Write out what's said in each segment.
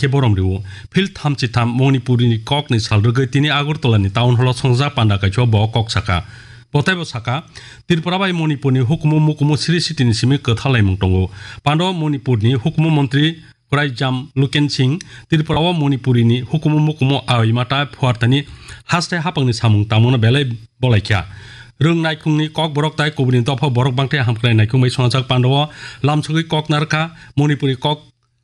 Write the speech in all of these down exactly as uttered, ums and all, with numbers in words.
khe borom rwo. Phil thamchi tham Manipuri ni kok ni sal rwgwi tini Agartala ni town hall o songjak panda kaisa bo kok saka. Bo teibo saka, Tripura bai Manipur ni hukumu mukumu siri siti ni simi kwthalaimung tongo. Pando Manipur ni hukumu montri Kwraijam Luken Singh Tripura o Manipuri ni hukumu mukumu awi mata phuarthani haste hapangni samung tangmano belai bolaikha. Rwng naikhungni kok borok tai kubuni dopha borok bangthai hamkrai naikhung bai swngjak pando o lamsogwi kok narwkha Manipuri kok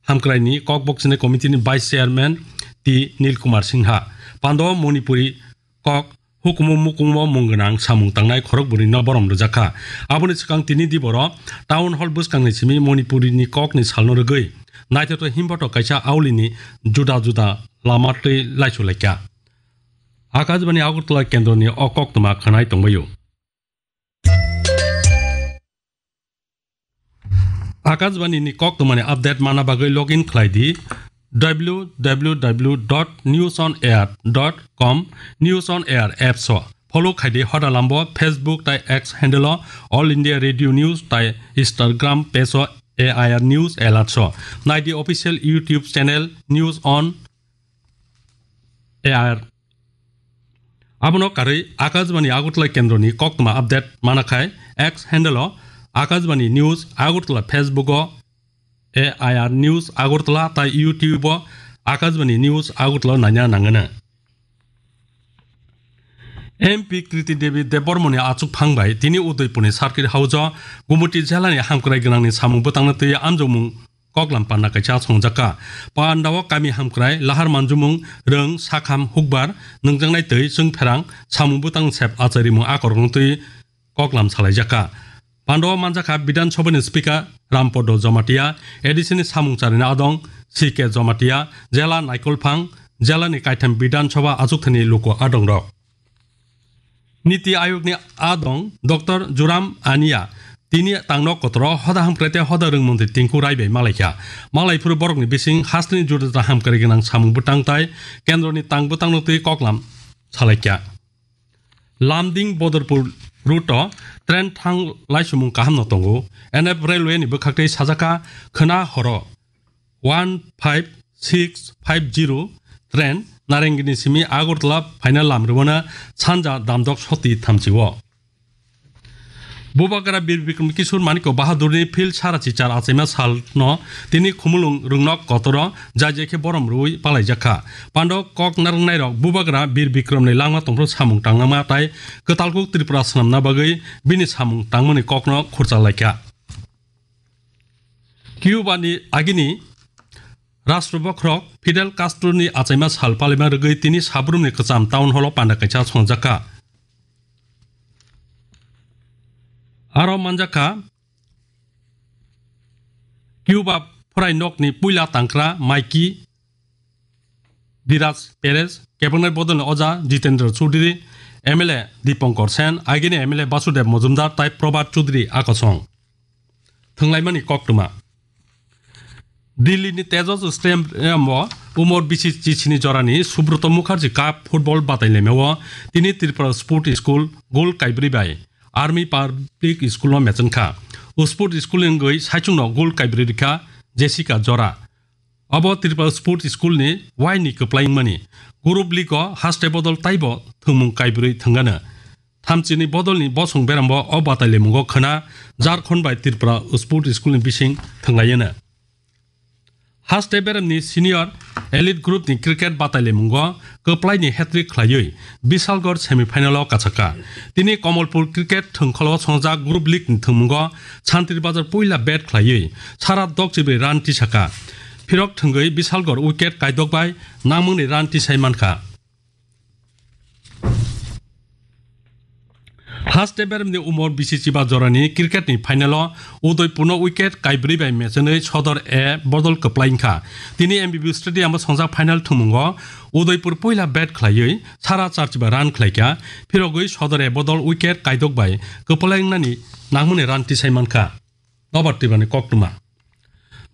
hamkraini kok bokchini committee ni vice chairman T Nil Kumar Singha. Pando o Manipuri kok hukumu mukumu mung gwnang samung tangnai khorok bwrwi no borom rwjakha. Aboni swkang tini diboro town hall bwskangni simi Manipuri ni kok ni salno rwgwi naithotok himbotok kaisa auli ni juda juda lama twi laisu laikha. Akashbani Agartala kendro ni o koktwma khwnai tongbaio. Akashbani ni koktwmani update mana bagwi login khlai di w w w dot news on air dot com, News on Air apps o. Follow khai di hoda lambo Facebook tai X handle o All India Radio News tai Instagram page o A I R News Alerts o. Nai di official YouTube channel News on A I R. Abono karwi Akashbani Agartala kendroni koktwma update mana khai X handle o Akashbani News Agartala, Facebook o A I R News Agartala tai YouTube o Akashbani News Agartala naina nangano. M P Kriti Devi Debbarmani achukphang bai tini Udaipurni Circuit House o Gumoti jelani hamkrai gwnangni samung bwtangno twi amjokmung koklam panda kaisa songjakha. Panda o kami hamkrai lahar manjumung rwng sakham hukbar nwngjaknai twi chwngpherang samung bwtang sep acharimung akorokno twi koklam salaijakha. Panda o manjakha Bidhan Sabhani Speaker Rampodo Jamatia, A D C ni samung charina adong C K Jamatia, jela naikolphang, jelani kaitham Bidhan Sabha achukthani luku adongrok. Niti Ayogni adong Doctor Joram Ania tini tangno kotoro hoda hamkrai tei hoda rwng montri Tinku Rai bai malaikha. Malaiphuru borokni bising hasteni juda juda hamkrai gwnang samung bwtang tai kendroni tang bwtangno twi koklam salaikha. Lamding Bodorpur route o train thang laisumung kahamno tongo. N F Railway ni bwkhaktwi sajakha khwna horo one five six five zero train Narengini simi Agartala phaina lam rwmana sanja damdok soti thamchi o. Bubagra Bir Bikram Kishore Manikya Bahadurni phil sarachi char achaima salno tini Khumulwng Rwngnok kotoro jai jai khe borom rwui palaijakha. Pando kok narwknairok Bubagra Bir Bikramni langma tongphru samung tangnama tai kwtalkuk Tripura swnamna bagwi bini samung tangmani kokno khurcha laikha. Cuba ni agini Rashtra bokhorok Fidel Castro ni achaima sal palima rwgwi tini Sabrumni kwcham town hall o panda kaisa songjakha. Aro manjakha Cuba phorai nokni puila tangkra Maiki Diraj Perez, kebengnair bodolni oja Jitendra Chaudhary, M L A Dipankar Sen, agini M L A Basudev Majumdar tai Prabhat Chaudhary akosong. Thwnglaimani koktwma. Delhi ni Tejas Stadium o umor bisi chisini jorani Subroto Mukherjee Cup football batailaimao tini Tripura Sport School goal kaibrwi bai Army Public School no mechenkha. O Sport School ni wngwi saichungno goal kaibrwi rikha Jessica Jora. Abo Tripura Sport School ni waini kwplai wngmani. Group League o haste bodol taibo thwngmung kaibrwi thwngano. Thamchini bodolni bosong berambo o batailamungo khwna Jharkhand bai Tripura Sport School ni bising thwnglaiyano. Haste beramni senior elite group ni cricket batailamungo kwplaini hat-trick khlaiwi Bishalgarh semi final o kachakha. Tini Kamalpur cricket thwngkholo songjak Group League ni thwngmungo Santri Bazar puila bat khlaiwi sara dokchibrwi run tisakha. Phirok thwngwi Bishalgarh wicket kaidok bai nangmungni run tisai mankha. Haste beremni umor bisi chiba jorani cricket ni final o Udaipurno wicket kaibrwi bai mechenwi Sodor A bodol kwplai wngkha. Tini M B B Stadium o songjak final thwngmungo Udaipur puila bat khlaiwi sara char chiba run khlaikha, phirogwi Sodor A bodol wicket kaidok bai kwplai wngnani nangmani run tisai mankha. Nobar Tripurani koktwma.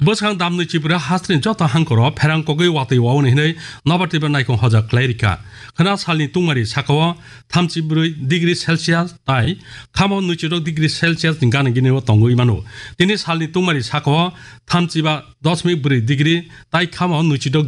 Bwskang damni Tripura hasteni joto hangkoro pherang kogwi watwi wauni hinwi Nobar Tripura naikong hoja khlai rikha. Khwna salni tungmari sakao thamchi brwi degree Celsius tai khamo nwichidok degree Celsius ni gana gini o tongwi mano. Tini salni tungmari sakao thamchiba dosmik brwi degree tai khamo nwichidok